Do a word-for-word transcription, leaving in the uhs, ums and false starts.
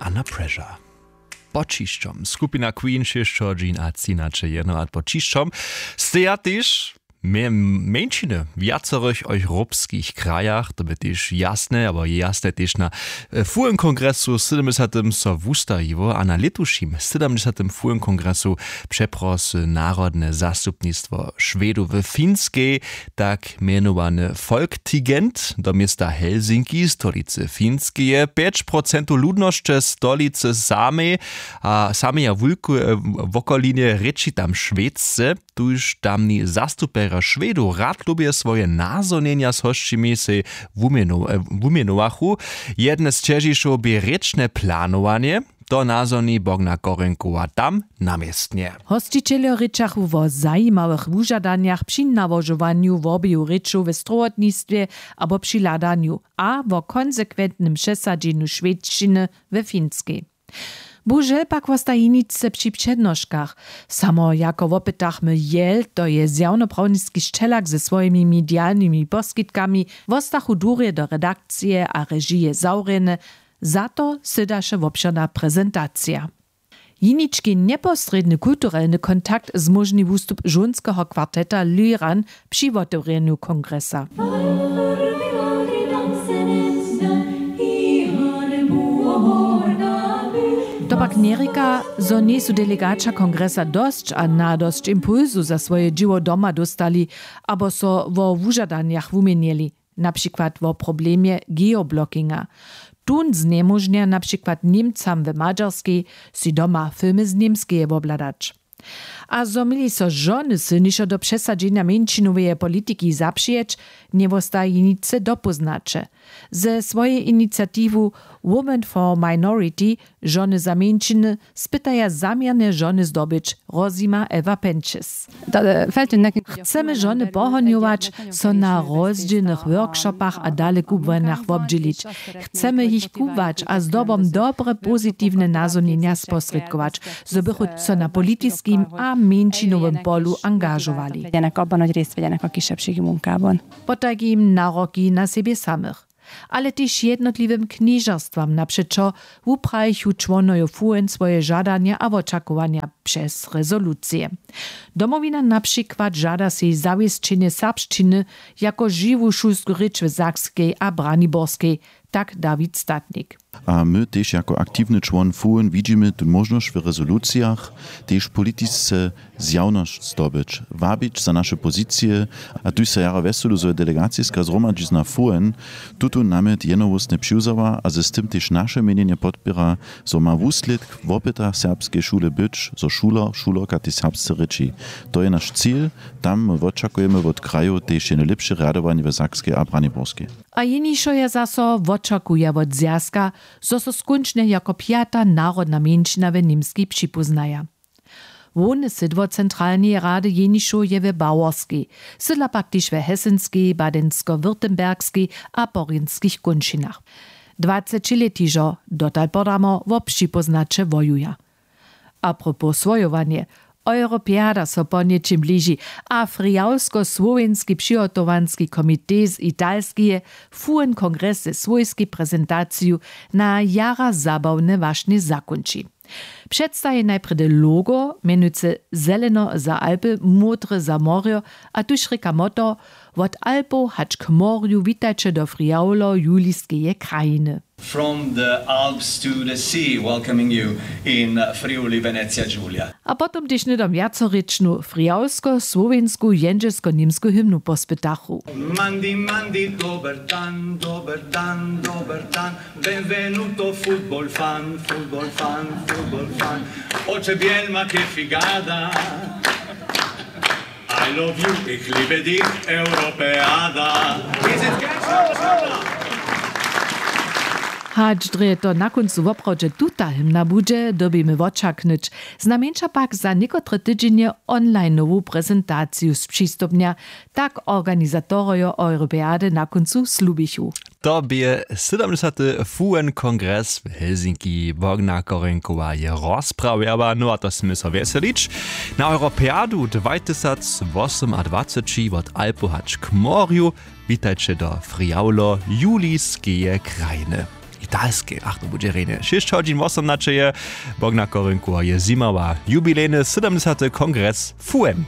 Under Pressure. Pod ćišćom skupina Queen šěsćeho dźin a třinaće jenorat pod ćišćom steja tež mjeńšiny w wjacorych europskich krajach. To bě tež jasne abo je jasne tež na fuhen kongresu sydomdźesatym so wustajiło a na lětušim sydomdźesatym fuhen kongresu přeprosy narodne zastupnistwo šwedow w finskej, tak mjenowany Folketinget do města Helsinki, stolicy Finskeje. Pjeć procentow ludnosće stolicy samej a sameja wulku wokolinje rěči tam šwedce. Tuž tamni zastupjerjo šwedow rad lubje swoje nazhonjenja z hosćimi sej wumjenowachu. Jedne z ćežišow bě rěčne planowanje. To nazhoni bogna korenkowa tam na městnje. Hosćićeljo rěčachu wo zajimałych wužadanjach při nałožowanju wobeju rěčow we strowotnistwje abo při hladanju a wo konsekwentnym přesadźenju šwedšćiny we finskej. Bužel pak wosta jeničce při přednoškach. Samo jako wopytachmy jel to je zjawnoprawniski šćelak ze swojimi medialnymi poskitkami, wostachu durje do redakcije a režije zawrjene. Za to sydaše wobšěrna prezentacija. Jenički njeposrědny kulturelny kontakt zmóžni wustup žónskeho kwarteta Lyran při wotewrjenju kongresa. To pak njerěka, zo njejsu delegaća kongresa dosć a nadosć impulsu za swoje dźěło doma dóstali abo so wo wužadanjach wuměnjeli, na přikład wo problemje geoblockinga. Tón znjemóžnja na přikład němcam w madźarskej sej doma filmy z němskeje wobhladać. A zo měli so žony sylnišo do přesadźenja mjeńšinoweje politiki zapřijeć, njewostaji nic dopóznaće. Ze swojej iniciatiwu Women for Minority žony za mjeńšiny spytaja zaměrnje žony zdobyć, rozjima Ewa Penčes. Chcemy žony pohonjować, so na rozdźělnych workshopach a dalekubłanjach wobdźělić. Chcemy jich kubłać a zdobom dobre pozitiwne nazhonjenja sposrědkować, zo bychu so na politiskim a mjeńšinowym polu angažowali. Potajki jim naroki na sebje samych, ale tež jednotliwym knježerstwam napřećo wuprajichu čłonojo fuhn swoje žadanja a wočakowanja přez rezolucije. Domowina na přikład žada sej zawěsćenje serbšćiny jako žiwu šulsku rěč w sakskej a braniborskej, tak dawid statnik. A my tež jako aktiwny čłon fuhn widźimy tu móžnosć w rezolucijach tež politisce zjawnosć zdobyć, wabić za naše pozicije. A tuž so jara wjeselu zo je delegaciska zhromadźizna fuhn tutón namjet jednohłósnje přiwzała a z tym tež naše měnjenje podpěra, zo ma wuslědk wopyta serbskeje šule być, zo šuler šulerka tež serbsce rěči. To je naš cil. Tam my wočakujemy wot krajow tež jeno lěpše rjadowanje w sakskej a braniborskej. A jenišo je zaso wočakuja wot zwjazka, zo so skónčnje jako pjata narodna mjeńšina w němskej připóznaja. Hłowne sydło centralneje rady jenišow je w baworskej, sydla pak tež w hesenskej, badenskowyrtembergskej a porjenskich kónčinach. Dwacećilět hižo dotal podamo wo připóznaće wojuja. Apropos swojowanje, europeada so ponjećim bliži, a frjawsko słowjenski přihotowanski komitej z italskeje fuhn kongres ze swójskej prezentaciju na jara zabawne wašnje zakónči. Předstaji najprjedy logo mjenujcy zeleno za alpy, módre za morjo, a tuž rěka motto: wot alpow hač k morju witajće do frjawlo juliskeje krajiny. From the Alps to the sea, welcoming you in Friuli Venezia Giulia. A potom tež hnydom wjacorěčnu frjawsko-słowjensku jendźelsko-němsku hymnu pospytachu. Mandi, mandi, dober dan, dober dan, dober dan. Benvenuto, football fan, football fan, football fan. Oče bielma, che figada. I love you, ich liebe dich, Europeada. Is it catch? Hač drje to na kóncu woprawdźe tuta hymna budźe, dyrbimy wočaknyć. Znajmjeńša pak za někotre tydźenje onlineowu prezentaciju spřistupnja, tak organizatorojo europeady na kóncu slubichu. To bě sydomdźesaty fuhn kongres w helsinki. Bogna korenkowa je rozprawjała, no a to smy so wjeselić. Na europeadu dwajtysacwosomadwaceći wot alpow hač k morju. Witajće do friawlo juliskeje krajiny. Špitalskej ach to budźe rjenje šěsć hodźin wosomnaćeje. Bogna korynku a je zjimała jubilejny sydomdźesaty kongres fuem.